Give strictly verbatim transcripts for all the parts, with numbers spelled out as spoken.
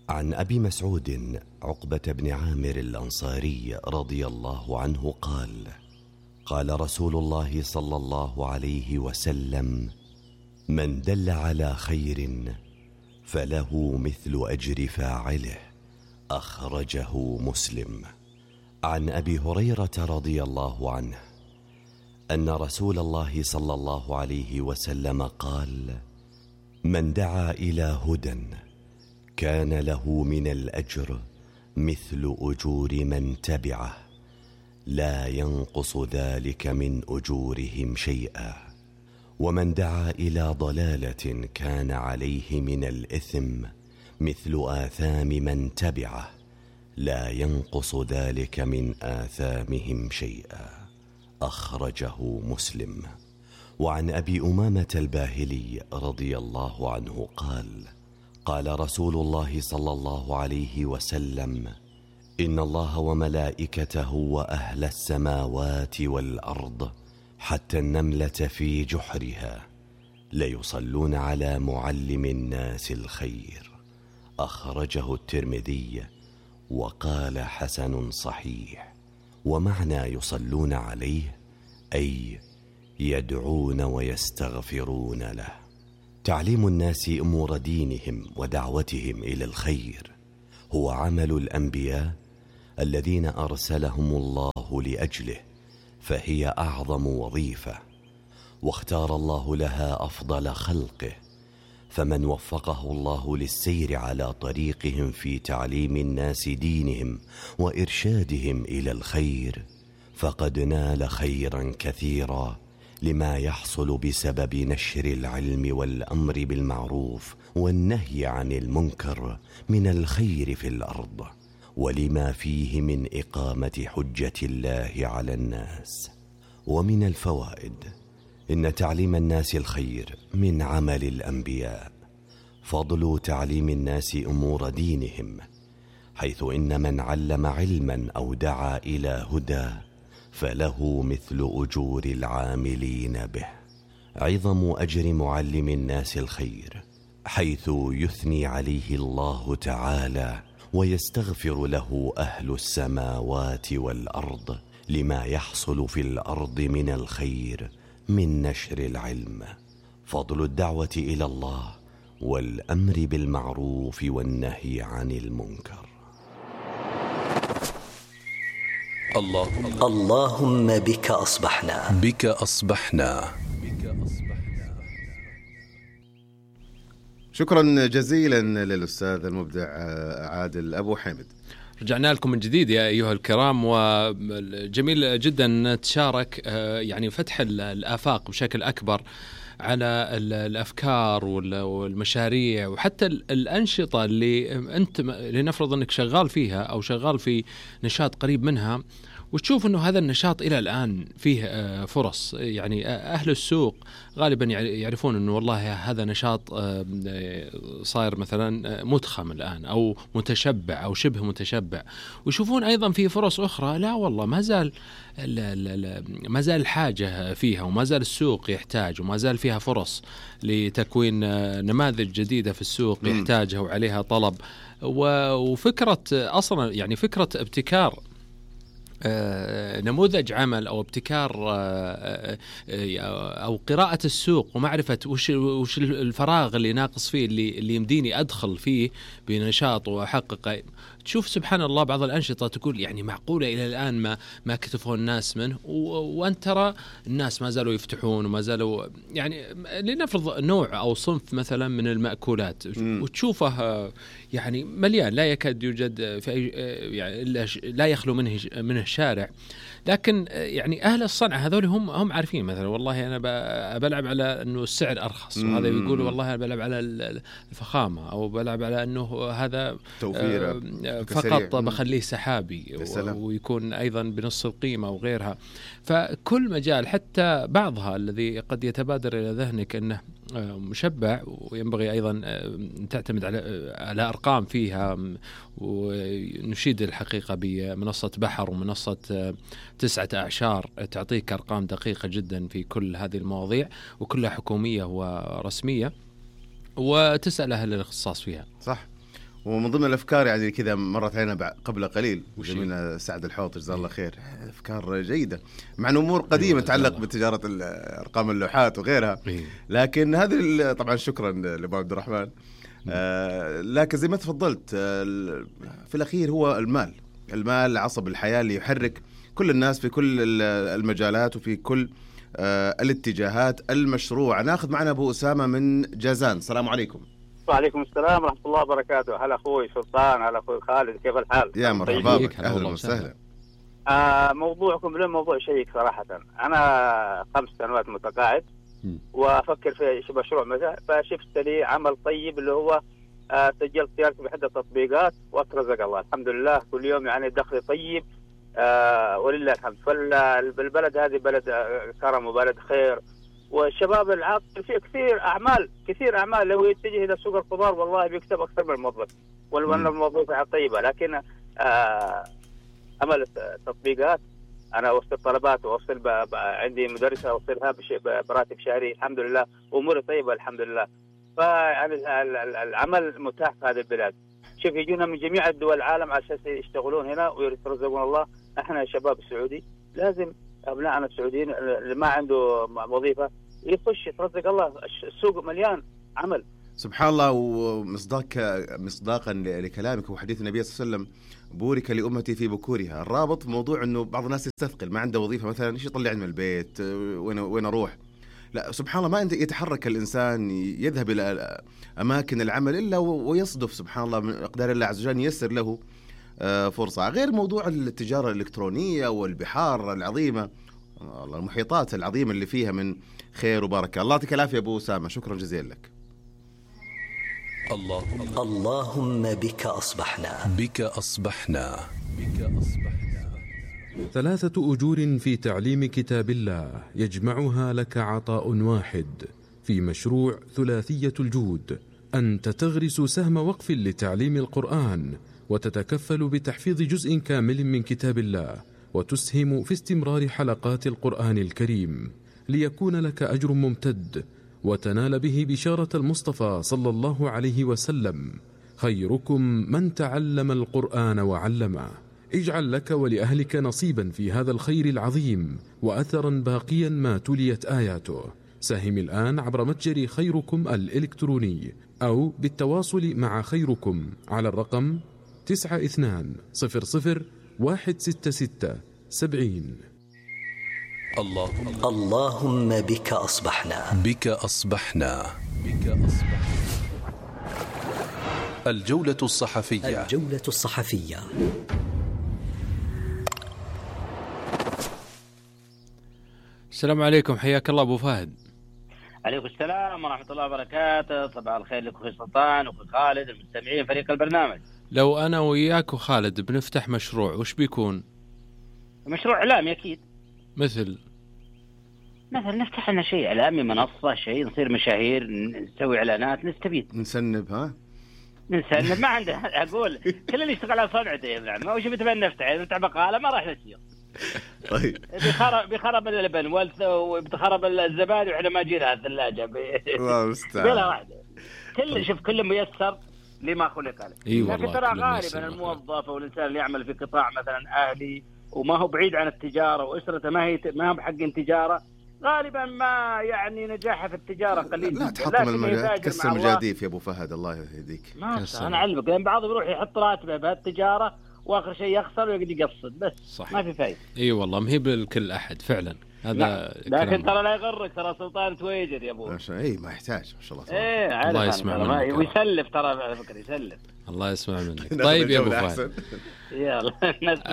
عن أبي مسعود عقبة بن عامر الأنصاري رضي الله عنه قال: قال رسول الله صلى الله عليه وسلم: من دل على خير فله مثل أجر فاعله. أخرجه مسلم. عن أبي هريرة رضي الله عنه أن رسول الله صلى الله عليه وسلم قال: من دعا إلى هدى كان له من الأجر مثل أجور من تبعه لا ينقص ذلك من أجورهم شيئا، ومن دعا إلى ضلالة كان عليه من الإثم مثل آثام من تبعه لا ينقص ذلك من آثامهم شيئا. أخرجه مسلم. وعن أبي أمامة الباهلي رضي الله عنه قال: قال رسول الله صلى الله عليه وسلم: إن الله وملائكته وأهل السماوات والأرض حتى النملة في جحرها ليصلون على معلم الناس الخير. أخرجه الترمذي وقال: حسن صحيح. ومعنى يصلون عليه أي يدعون ويستغفرون له. تعليم الناس أمور دينهم ودعوتهم إلى الخير هو عمل الأنبياء الذين أرسلهم الله لأجله، فهي أعظم وظيفة، واختار الله لها أفضل خلقه، فمن وفقه الله للسير على طريقهم في تعليم الناس دينهم وإرشادهم إلى الخير فقد نال خيرا كثيرا، لما يحصل بسبب نشر العلم والأمر بالمعروف والنهي عن المنكر من الخير في الأرض، ولما فيه من إقامة حجة الله على الناس. ومن الفوائد: إن تعليم الناس الخير من عمل الأنبياء. فضل تعليم الناس أمور دينهم، حيث إن من علم علما أو دعا إلى هدى فله مثل أجور العاملين به. عظم أجر معلم الناس الخير، حيث يثني عليه الله تعالى ويستغفر له أهل السماوات والأرض لما يحصل في الأرض من الخير من نشر العلم. فضل الدعوة إلى الله والأمر بالمعروف والنهي عن المنكر. اللهم, اللهم بك أصبحنا بك أصبحنا شكرا جزيلا للأستاذ المبدع عادل أبو حامد. رجعنا لكم من جديد يا أيها الكرام، وجميل جدا نتشارك يعني فتح الآفاق بشكل أكبر على الأفكار والمشاريع وحتى الأنشطة اللي أنت لنفرض أنك شغال فيها أو شغال في نشاط قريب منها، وتشوف أنه هذا النشاط إلى الآن فيه فرص. يعني أهل السوق غالبا يعرفون أنه والله هذا نشاط صاير مثلا متخم الآن أو متشبع أو شبه متشبع، ويشوفون أيضا فيه فرص أخرى لا والله ما زال ما زال الحاجة فيها وما زال السوق يحتاج وما زال فيها فرص لتكوين نماذج جديدة في السوق يحتاجها وعليها طلب. وفكرة أصلا يعني فكرة ابتكار نموذج عمل أو ابتكار أو قراءة السوق ومعرفة وش وش الفراغ اللي ناقص فيه اللي اللي يمديني أدخل فيه بنشاط وأحقق. تشوف سبحان الله بعض الأنشطة تقول يعني معقولة إلى الآن ما ما كتفوا الناس منه، وأنت ترى الناس ما زالوا يفتحون وما زالوا يعني لنفرض نوع أو صنف مثلا من المأكولات وتشوفه يعني مليان لا يكاد يوجد في أي يعني لا يخلو منه منه الشارع، لكن يعني أهل الصنعة هذول هم هم عارفين مثلا والله أنا بلعب على إنه السعر أرخص، وهذا يقول والله أنا بلعب على الفخامة أو بلعب على إنه هذا توفير فقط بخليه سحابي ويكون أيضا بنص القيمة وغيرها. فكل مجال حتى بعضها الذي قد يتبادر إلى ذهنك أنه مشبع وينبغي أيضا أن تعتمد على على أرقام فيها، ونشيد الحقيقة بمنصة بحر ومنصة تسعة أعشار تعطيك أرقام دقيقة جدا في كل هذه المواضيع وكلها حكومية ورسمية، وتسأل أهل الاختصاص فيها. صح. ومن ضمن الأفكار يعني كذا مرت علينا قبل قليل زميلنا سعد الحوط جزاه الله خير، أفكار جيدة مع أمور قديمة تتعلق بتجارة أرقام اللوحات وغيرها، لكن هذه طبعا شكرا لأبو عبد الرحمن. آه لكن زي ما تفضلت آه في الأخير هو المال، المال عصب الحياة اللي يحرك كل الناس في كل المجالات وفي كل آه الاتجاهات المشروعة. ناخذ معنا أبو أسامة من جازان. السلام عليكم. وعليكم السلام ورحمة الله وبركاته. هلا أخوي سلطان، هلا أخوي خالد، كيف الحال؟ يا مرحبا بك، أهلا وسهلا. آه موضوعكم له موضوع شيق صراحة. أنا خمس سنوات متقاعد وأفكر في مشروع مثلا، فشفت لي عمل طيب اللي هو آه سجلت سيارتي بحدة تطبيقات وأترزق الله الحمد لله كل يوم، يعني دخلي طيب آه ولله الحمد. فالبلد هذه بلد آه كرم وبلد خير، والشباب العاطل فيه كثير أعمال كثير أعمال لو يتجه إلى سوق الخضار والله بيكسب أكثر من الموظف، والموظف طيبة. لكن آه عمل تطبيقات أنا أوصل طلبات وأوصل ب... ب... عندي مدرسة أوصلها بش... براتب شهري الحمد لله، وأموري طيبة الحمد لله. فيعني العمل متاح في هذه البلاد. شوف يجونا من جميع الدول العالم على أساس يشتغلون هنا ويرزقون الله. إحنا شباب السعودي لازم أبنائنا السعوديين اللي ما عنده وظيفة يخش يترزق الله، السوق مليان عمل. سبحان الله. ومصداق مصداقا لكلامك وحديث النبي صلى الله عليه وسلم بورك لأمتي في بكورها. الرابط موضوع أنه بعض الناس يستثقل ما عنده وظيفة مثلا، إيش يطلعني من البيت، وين وين أروح. لا سبحان الله، ما يتحرك الإنسان يذهب إلى أماكن العمل إلا ويصدف سبحان الله من أقدار الله عز وجل ييسر له فرصة. غير موضوع التجارة الإلكترونية والبحار العظيمة، المحيطات العظيمة اللي فيها من خير وبركة. الله يعطيك العافية أبو أسامة، شكرا جزيلا لك. اللهم اللهم بك أصبحنا بك أصبحنا بك أصبحنا. ثلاثة أجور في تعليم كتاب الله يجمعها لك عطاء واحد في مشروع ثلاثية الجود. أنت تغرس سهم وقف لتعليم القرآن وتتكفل بتحفيظ جزء كامل من كتاب الله، وتسهم في استمرار حلقات القرآن الكريم ليكون لك أجر ممتد وتنال به بشارة المصطفى صلى الله عليه وسلم: خيركم من تعلم القرآن وعلمه. اجعل لك ولأهلك نصيبا في هذا الخير العظيم وأثرا باقيا ما تليت آياته. ساهم الآن عبر متجر خيركم الإلكتروني أو بالتواصل مع خيركم على الرقم تسعة اثنان صفر صفر واحد ستة ستة سبعين. اللهم اللهم بك أصبحنا بك أصبحنا بك أصبحنا. الجولة الصحفية الجولة الصحفية. السلام عليكم، حياك الله أبو فهد. عليكم السلام ورحمة الله وبركاته. صباح الخير لك أخوي سلطان وأخوي خالد المستمعين فريق البرنامج. لو أنا وياك وخالد بنفتح مشروع وش بيكون؟ مشروع إعلامي أكيد. مثل مثل نفتح لنا شيء إعلامي، منصة، شيء نصير مشاهير، نسوي إعلانات، نستفيد، نسنب. ها نسنب ما عنده. أقول كل اللي يشتغل على صنعته يعني ما وش بتبين نفتح نفتح بقالة ما راح نسير. طيب بيخرب بيخرب اللبن وبتخرب الزبادي وإحنا ما جينا الثلاجة الله المستعان بلا واحدة. كل شوف كل ميسر لما خلق له. أيوة لكن ترى غالبا الموظف او الانسان اللي يعمل في قطاع مثلا اهلي وما هو بعيد عن التجاره واسرته ما هي ما هو بحق تجاره، غالبا ما يعني نجاحه في التجاره قليل. لا تحطم المجال، تكسر المجاديف يا ابو فهد الله يهديك. ما انا اعلمك لان بعضهم يروح يحط راتبه بهالتجاره واخر شيء يخسر ويقعد يقصد بس. صح. ما في فايده. اي أيوة والله ما هي بالكل احد فعلا هذا. لكن ترى لا يغرك ترى سلطان تويجر يا ابو. اي ما يحتاج ما شاء الله. ايه الله يسمع منك ويسلف ترى على فكره يسلف. الله يسمع منك. طيب يا ابو فهد يلا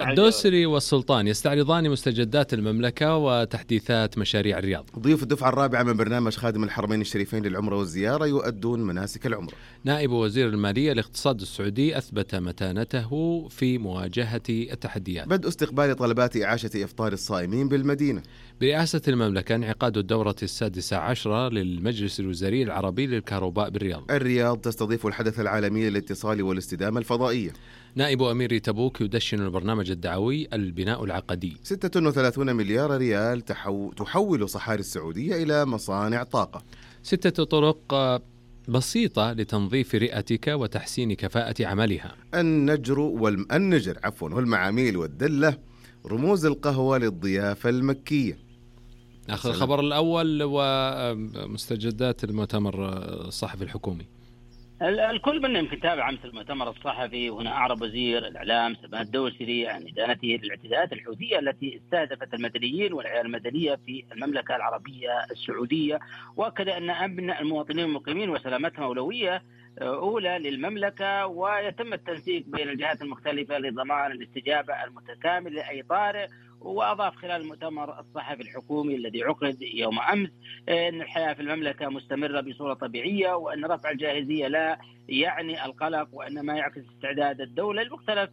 الدوسري والسلطان يستعرضان مستجدات المملكة وتحديثات مشاريع الرياض. ضيوف الدفعة الرابعة من برنامج خادم الحرمين الشريفين للعمرة والزيارة يؤدون مناسك العمرة. نائب وزير المالية الاقتصاد السعودي أثبت متانته في مواجهة التحديات. بدء استقبال طلبات إعاشة إفطار الصائمين بالمدينة. برئاسة المملكة انعقاد الدورة السادسة عشرة للمجلس الوزاري العربي للكهرباء بالرياض. الرياض تستضيف الحدث العالمي للاتصال والاستدامة الفضائية. نائب أمير تبوك يدشن البرنامج الدعوي البناء العقدي. ستة وثلاثين مليار ريال تحو... تحول صحاري السعودية إلى مصانع طاقة. ستة طرق بسيطة لتنظيف رئتك وتحسين كفاءة عملها. النجر والم... النجر عفوا والمعاميل والدلة رموز القهوة للضيافة المكية. أخذ الخبر الأول ومستجدات المؤتمر الصحفي الحكومي. الكل منا يمكن تابع أمس المؤتمر الصحفي، وهنا أعرب وزير الإعلام سماحة الدوسري عن إدانته للاعتداءات الحوثية التي استهدفت المدنيين والعيال المدنية في المملكة العربية السعودية، وأكد أن أمن المواطنين المقيمين وسلامتهم أولوية أولى للمملكة، ويتم التنسيق بين الجهات المختلفة لضمان الاستجابة المتكاملة لأي طارئ. وأضاف خلال المؤتمر الصحفي الحكومي الذي عقد يوم أمس أن الحياة في المملكة مستمرة بصورة طبيعية، وأن رفع الجاهزية لا يعني القلق، وأن ما يعكس استعداد الدولة لمختلف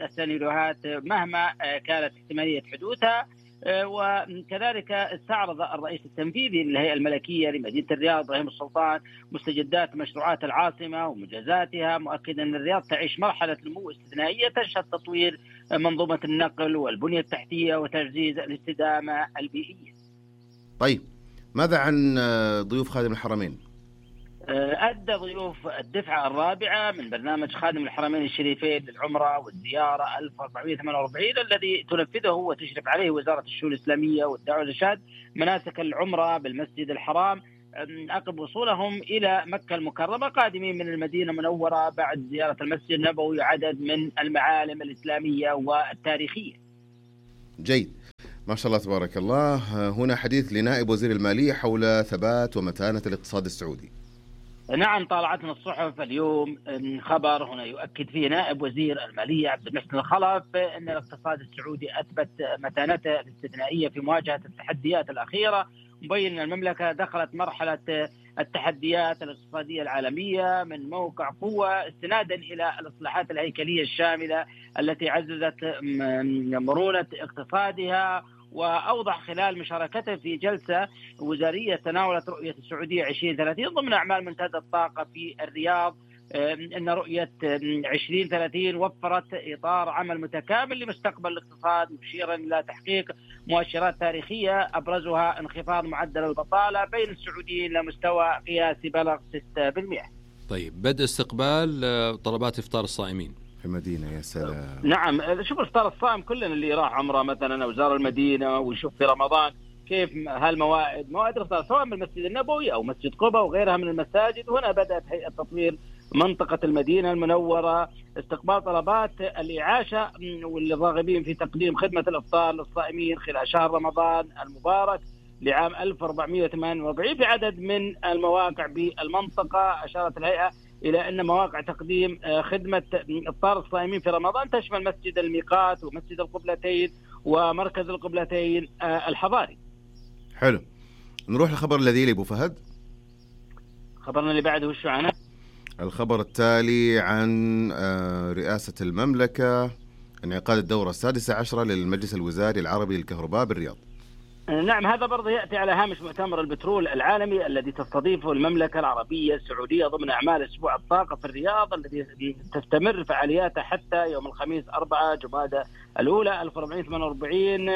السيناريوهات مهما كانت احتمالية حدوثها. وكذلك استعرض الرئيس التنفيذي للهيئة الملكية لمدينة الرياض إبراهيم السلطان مستجدات مشروعات العاصمة ومنجزاتها، مؤكدا أن الرياض تعيش مرحلة نمو استثنائية تشهد تطوير منظومة النقل والبنية التحتية وتعزيز الاستدامة البيئية. طيب ماذا عن ضيوف خادم الحرمين؟ أدى ضيوف الدفعة الرابعة من برنامج خادم الحرمين الشريفين للعمرة والزيارة ألف وأربعمائة وثمانية وأربعين الذي تنفذه وتشرف عليه وزارة الشؤون الإسلامية والدعوة والإرشاد مناسك العمرة بالمسجد الحرام عقب وصولهم إلى مكة المكرمة قادمين من المدينة المنورة بعد زيارة المسجد النبوي وعدد من المعالم الإسلامية والتاريخية. جيد، ما شاء الله تبارك الله. هنا حديث لنائب وزير المالية حول ثبات ومتانة الاقتصاد السعودي. نعم، طالعتنا الصحف اليوم خبر هنا يؤكد فيه نائب وزير المالية عبد المحسن الخلف أن الاقتصاد السعودي أثبت متانته الاستثنائية في مواجهة التحديات الأخيرة، مبين أن المملكة دخلت مرحلة التحديات الاقتصادية العالمية من موقع قوة استنادا إلى الإصلاحات الهيكلية الشاملة التي عززت مرونة اقتصادها. وأوضح خلال مشاركته في جلسة وزارية تناولت رؤية السعودية عشرين ثلاثين ضمن أعمال منتدى الطاقة في الرياض أن رؤية عشرين ثلاثين وفرت إطار عمل متكامل لمستقبل الاقتصاد، مشيرا إلى تحقيق مؤشرات تاريخية أبرزها انخفاض معدل البطالة بين السعوديين لمستوى قياسي بلغ ستة بالمئة. طيب، بدء استقبال طلبات إفطار الصائمين في المدينة. يا سلام. نعم، شوف إفطار الصائم كلنا اللي راح عمره مثلا أو زار المدينة ويشوف في رمضان كيف هالموائد موائد الإفطار سواء بالمسجد النبوي أو مسجد قبة وغيرها من المساجد. هنا بدأت هيئة تطوير منطقة المدينة المنورة استقبال طلبات الإعاشة والراغبين في تقديم خدمة الإفطار للصائمين خلال شهر رمضان المبارك لعام ألف وأربعمائة وثمانية وأربعين في عدد من المواقع بالمنطقة. أشارت الهيئة إلى أن مواقع تقديم خدمة إفطار الصائمين في رمضان تشمل مسجد الميقات ومسجد القبلتين ومركز القبلتين الحضاري. حلو، نروح للخبر الذي لأبو فهد. خبرنا اللي بعده وشو عنه؟ الخبر التالي عن رئاسة المملكة انعقاد الدورة السادسة عشرة للمجلس الوزاري العربي للكهرباء بالرياض. نعم، هذا برضه يأتي على هامش مؤتمر البترول العالمي الذي تستضيفه المملكة العربية السعودية ضمن أعمال أسبوع الطاقة في الرياض الذي تستمر فعالياته حتى يوم الخميس أربعة جمادى الأولى ألف وأربعمائة وثمانية وأربعين.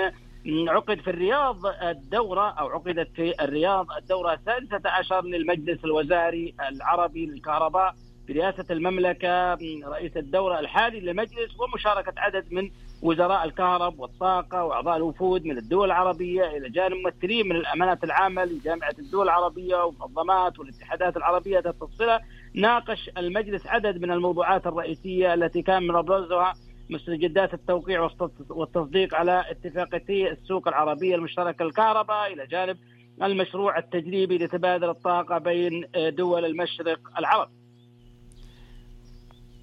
عقد في الرياض الدورة أو عقدت في الرياض الدورة السادسة عشر للمجلس الوزاري العربي للكهرباء برئاسة المملكة رئيس الدورة الحالي للمجلس ومشاركة عدد من وزراء الكهرب والطاقة وأعضاء الوفود من الدول العربية إلى جانب ممثلين من الأمانات العامة لجامعة الدول العربية ومنظمات والاتحادات العربية التفصيلة. ناقش المجلس عدد من الموضوعات الرئيسية التي كان من أبرزها مستجدات التوقيع والتصديق على اتفاقية السوق العربية المشتركة للكهرباء إلى جانب المشروع التجريبي لتبادل الطاقة بين دول المشرق العربي.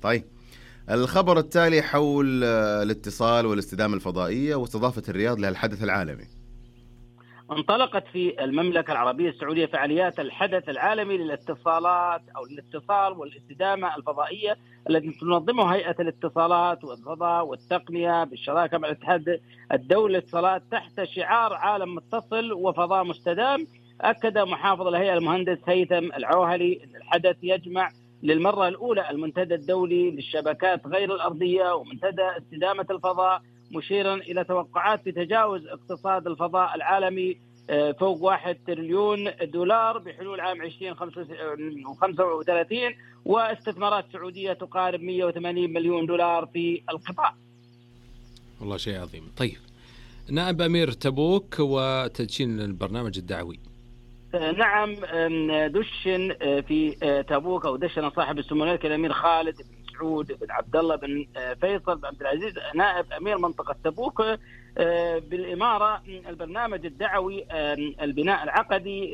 طيب، الخبر التالي حول الاتصال والاستدامة الفضائية واستضافة الرياض للحدث العالمي. انطلقت في المملكة العربية السعودية فعاليات الحدث العالمي للاتصالات أو للاتصال والاستدامة الفضائية التي تنظمها هيئة الاتصالات والفضاء والتقنية بالشراكة مع الاتحاد الدولي للاتصالات تحت شعار عالم متصل وفضاء مستدام. أكد محافظ الهيئة المهندس هيثم العوهلي أن الحدث يجمع للمرة الأولى المنتدى الدولي للشبكات غير الأرضية ومنتدى استدامة الفضاء، مشيرا إلى توقعات بتجاوز اقتصاد الفضاء العالمي فوق واحد تريليون دولار بحلول عام عشرين خمسة وثلاثين، واستثمارات سعودية تقارب مئة وثمانين مليون دولار في القطاع. والله شيء عظيم. طيب نائب أمير تبوك وتدشين البرنامج الدعوي. نعم، دشن في تبوك أو دشن صاحب السمو الملكي الأمير خالد بن سعود بن عبد الله بن فيصل بن عبد العزيز نائب أمير منطقة تبوك بالإمارة البرنامج الدعوي البناء العقدي.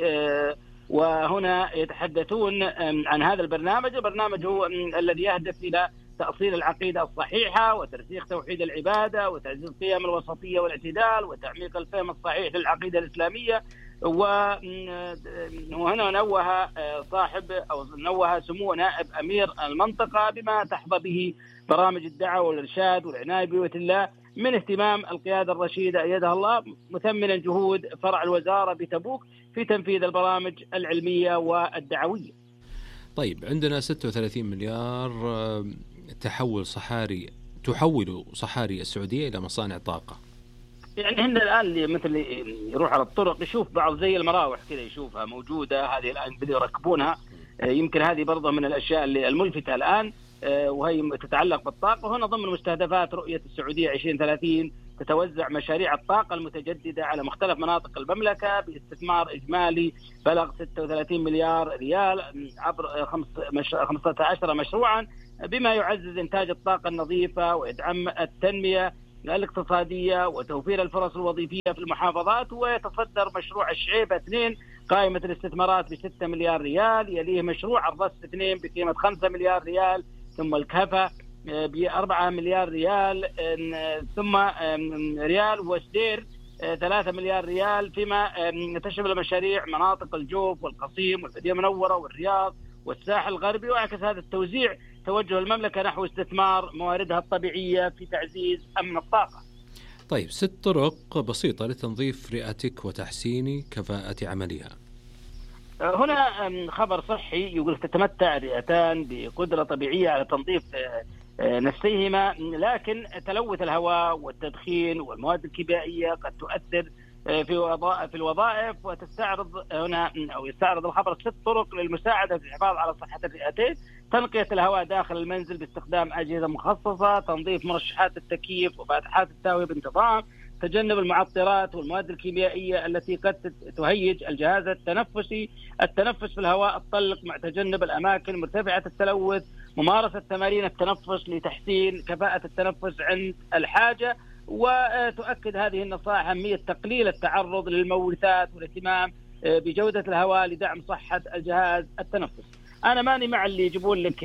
وهنا يتحدثون عن هذا البرنامج. البرنامج هو الذي يهدف إلى تأصيل العقيدة الصحيحة وترسيخ توحيد العبادة وتعزيز قيم الوسطية والاعتدال وتعميق الفهم الصحيح للعقيدة الإسلامية. وهنا نوه صاحب أو نوه سمو نائب أمير المنطقة بما تحظى به برامج الدعوة والإرشاد والعناية ببيوت الله من اهتمام القيادة الرشيدة أيدها الله، مثمنا جهود فرع الوزارة بتبوك في تنفيذ البرامج العلمية والدعوية. طيب عندنا ستة وثلاثين مليار تحول صحاري تحول صحاري السعودية إلى مصانع طاقة. يعني هن الآن اللي مثل يروح على الطرق يشوف بعض زي المراوح كذا يشوفها موجودة، هذه الآن بدأوا يركبونها. يمكن هذه برضه من الأشياء اللي الملفتة الآن، وهي تتعلق بالطاقة. وهنا ضمن مستهدفات رؤية السعودية عشرين ثلاثين تتوزع مشاريع الطاقة المتجددة على مختلف مناطق المملكة باستثمار إجمالي بلغ ستة وثلاثين مليار ريال عبر خمسة عشر مشروعا، بما يعزز إنتاج الطاقة النظيفة ويدعم التنمية الاقتصادية وتوفير الفرص الوظيفية في المحافظات. ويتصدر مشروع الشعيبة اثنين قائمة الاستثمارات بستة مليار ريال، يليه مشروع الرص اثنين بقيمة خمسة مليار ريال، ثم الكهفة بأربعة مليار ريال، ثم ريال وسدير ثلاثة مليار ريال، فيما تشمل مشاريع مناطق الجوف والقصيم والمدينة المنورة والرياض والساحل الغربي. وعكس هذا التوزيع توجه المملكة نحو استثمار مواردها الطبيعية في تعزيز أمن الطاقة. طيب ست طرق بسيطة لتنظيف رئتك وتحسين كفاءة عملها. هنا خبر صحي يقول تتمتع الرئتان بقدرة طبيعية على تنظيف نفسيهما، لكن تلوث الهواء والتدخين والمواد الكيميائية قد تؤثر في وظائف في الوظائف. وتستعرض هنا أو يستعرض الخبر ست طرق للمساعدة في الحفاظ على صحة الرئتين: تنقية الهواء داخل المنزل باستخدام أجهزة مخصصة، تنظيف مرشحات التكييف وفاتحات التهوية بانتظام، تجنب المعطرات والمواد الكيميائية التي قد تهيج الجهاز التنفسي، التنفس في الهواء الطلق مع تجنب الأماكن مرتفعة التلوث، ممارسة تمارين التنفس لتحسين كفاءة التنفس عند الحاجة. وتؤكد هذه النصائح أهمية تقليل التعرض للمورثات والاهتمام بجودة الهواء لدعم صحة الجهاز التنفسي. أنا ماني مع اللي يجيبون لك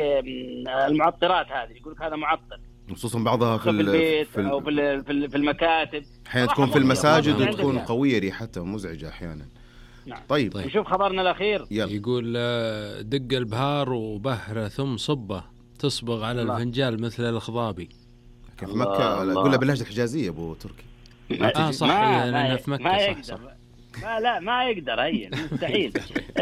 المعطرات هذه، يقول لك هذا معطر، خصوصا بعضها في البيت في أو في في المكاتب، أحيانا تكون في المساجد وتكون قوية ريحتها ومزعجة أحيانا. نعم. طيب. طيب نشوف خبرنا الأخير. يلا. يقول دق البهار وبهره ثم صبه تصبغ على الله. الفنجال مثل الخضابي. كيف مكة قولها باللهجة الحجازية أبو تركي. آه صح، أنا في مكة ما صح, يقدر. صح. ما لا ما يقدر، هي مستحيل.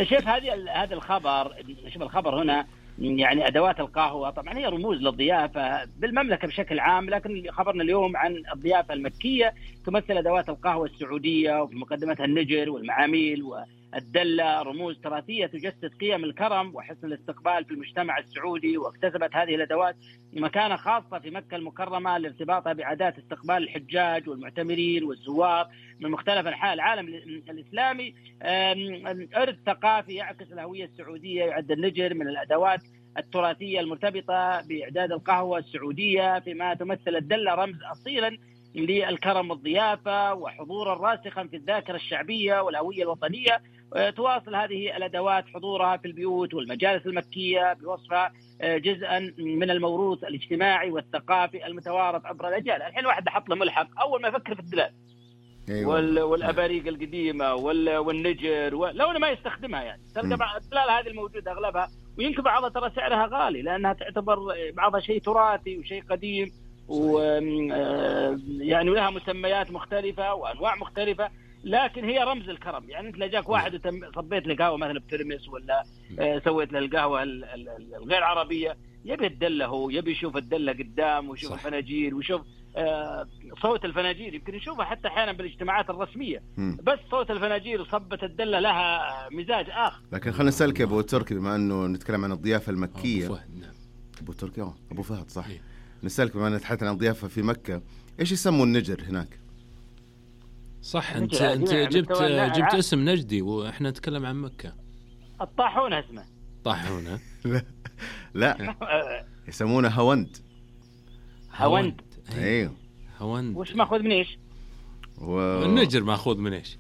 شوف هذه هذا الخبر، شوف الخبر هنا يعني أدوات القهوة طبعا هي رموز للضيافة بالمملكة بشكل عام، لكن خبرنا اليوم عن الضيافة المكية تمثل أدوات القهوة السعودية وفي مقدمتها النجر والمعاميل والدلة، رموز تراثية تجسد قيم الكرم وحسن الاستقبال في المجتمع السعودي. واكتسبت هذه الأدوات مكانة خاصة في مكة المكرمة لارتباطها بعادات استقبال الحجاج والمعتمرين والزوار من مختلف أنحاء العالم الإسلامي. إرث ثقافي يعكس الهوية السعودية. يعد النجر من الأدوات التراثية المرتبطة بإعداد القهوة السعودية، فيما تمثل الدلة رمز أصيلا للكرم والضيافة وحضورا راسخا في الذاكرة الشعبية والهوية الوطنية. تواصل هذه الأدوات حضورها في البيوت والمجالس المكية بوصفها جزءا من الموروث الاجتماعي والثقافي المتوارث عبر الأجيال. الحين واحد حط له ملحق أول ما يفكر في الدلال. أيوة. والأباريق القديمة والنجر و... لو أنا ما يستخدمها يعني تلقى الدلال هذه الموجودة أغلبها، ويمكن بعضها ترى سعرها غالي لأنها تعتبر بعضها شيء تراثي وشيء قديم، ويعني لها مسميات مختلفة وأنواع مختلفة، لكن هي رمز الكرم. يعني أنت لجاك واحد وصبيت له قهوة مثلا بترمس ولا سويت له القهوة الغير عربية، يبي الدلة، هو يبي يشوف الدلة قدام ويشوف الفناجيل ويشوف صوت الفناجيل يمكن نشوفها حتى أحيانا بالاجتماعات الرسمية، مم. بس صوت الفناجيل وصبة الدلة لها مزاج آخر. لكن خلينا نسألك يا أبو تركي، بما أنه نتكلم عن الضيافة المكية. أبو فهد. نعم. أبو تركي أوه. أبو فهد صح. إيه. نسألك بما أننا تحدثنا عن الضيافة في مكة، إيش يسموا النجر هناك؟ صح، أنت نجر أنت يعني جبت مستوى جبت الع- اسم نجدي وإحنا نتكلم عن مكة. الطاحون اسمه. طاحونة. لا لا يسمونه هوند. هوند. ايوه هوند. وش ماخذ من ايش؟ و... النجر ماخوذ من ايش؟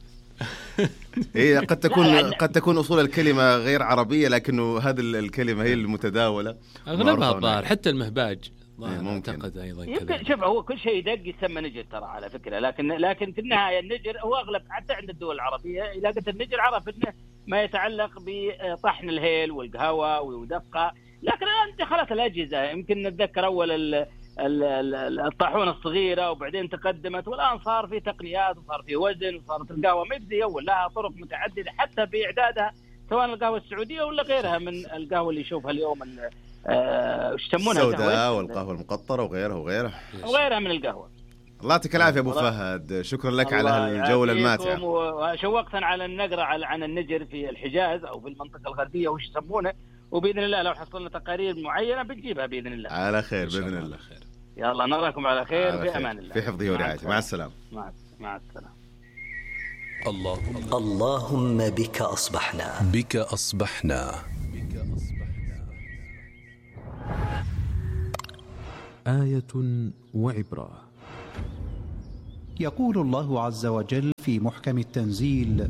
هي قد تكون لا، لا. قد تكون اصول الكلمه غير عربيه، لكنه هذه الكلمه هي المتداوله. اغلبها معروفة الظاهر، هناك. حتى المهباج إيه، ممكن. اعتقد ايضا يمكن كذا. شوف، هو كل شيء يدق يسمى نجر ترى على فكره، لكن لكن في النهايه النجر هو اغلب حتى عند الدول العربيه. اذا قلت النجر عرف انه ما يتعلق بطحن الهيل والقهوه ودقه، لكن الان دخلت الاجهزه. يمكن نتذكر اول ال الطاحونه الصغيره وبعدين تقدمت، والان صار في تقنيات وصار في وزن وصارت القهوه ما زي اول، لها طرق متعدده حتى باعدادها، سواء القهوه السعوديه ولا غيرها من القهوه اللي يشوفها اليوم ايش يسمونها، السوداء والقهوه المقطره وغيرها وغيرها وغيرها من القهوه. الله يعطيك العافيه ابو فهد، شكرا لك على الجوله الماتعه. وشوقتنا على النقرة عن النجر في الحجاز او في المنطقه الغربيه وش يسمونه، وباذن الله لو حصلنا تقارير معينه بنجيبها باذن الله. على خير باذن الله. خير. يلا نراكم على خير، على في خير. امان الله، في حفظه ورعايته. مع السلامه. مع مع السلامه. الله اللهم بك أصبحنا. بك أصبحنا. بك أصبحنا. آية وعبرة. يقول الله عز وجل في محكم التنزيل: